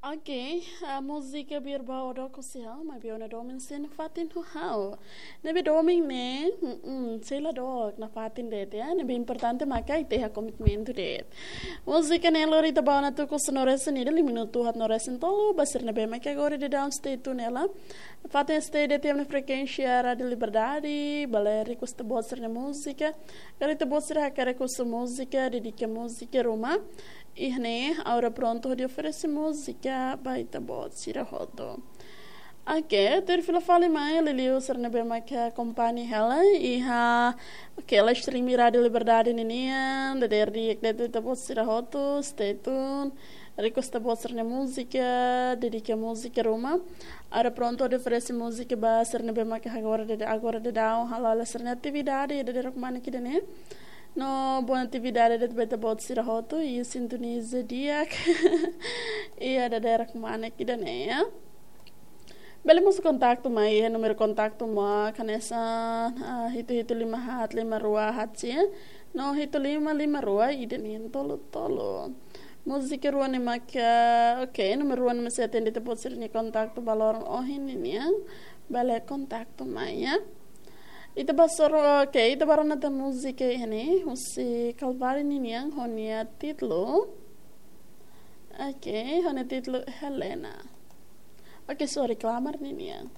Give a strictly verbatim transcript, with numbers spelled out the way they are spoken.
Ok, a múzika Biar Ba Ó Dook Husi Ha'u, maibé ó-nia domin sei nafatin ho ha'u. Ne'ebé domin ne'e, mm, sei la dook, nafatin de'it, ya. Ne'ebé importante maka ita iha komitmentu de'it. Múzika ne'e lori ita ba ona tuku sanulu-resin-ida, lima minutu haat-nulu-resin-tolu, ba sira ne'ebé maka agora daudaun stay tune hela. Fatin stay de'it iha ema nia frekuénsia Rádiu Liberdade, bele request ita-boot sira-nia múzika. Karik ita-boot sira hakarak request múzika, dedika múzika ruma, iha ne'e, ha'u prontu hodi oferese múzika ba ita-boot sira hotu. Ok, tuir fila fali mai, liuliu sira ne'ebé maka akompaña hela iha, ok, live stream Rádiu Liberdade ninian, dadeer di'ak de'it ita-boot sira hotu, stay tune. Request ita-boot sira-nia múzika, dedika múzika ruma. Ha'u prontu hodi oferese múzika ba sira ne'ebé maka agora daudaun, agora daudaun hala'o sira-nia atividade, dadeer rok manek ida-ne'e. No, boa atividade de'it ba ita-boot sira hotu, i sintoniza di'ak. Iha dadeer rok manek ida-ne'e, ya. Bele mós kontaktu mai, iha númeru kontaktu mak hanesan, ah, hitu hitu lima haat lima rua haat sia, no hitu lima lima rua ida neen tolu tolu. Múzika rua ne'e maka, ok, númeru rua ne'e mak sei atende ita-boot sira-nia kontaktu ba loron ohin ninian, bele kontaktu mai, ya. Ita bá soro, ok, ita bá rona tan múzika iha ne'e, husi Kalvari ninian, ho nia títulu. Ok, ho nia títulu Helena. Ok, sorry, Klamar ninian.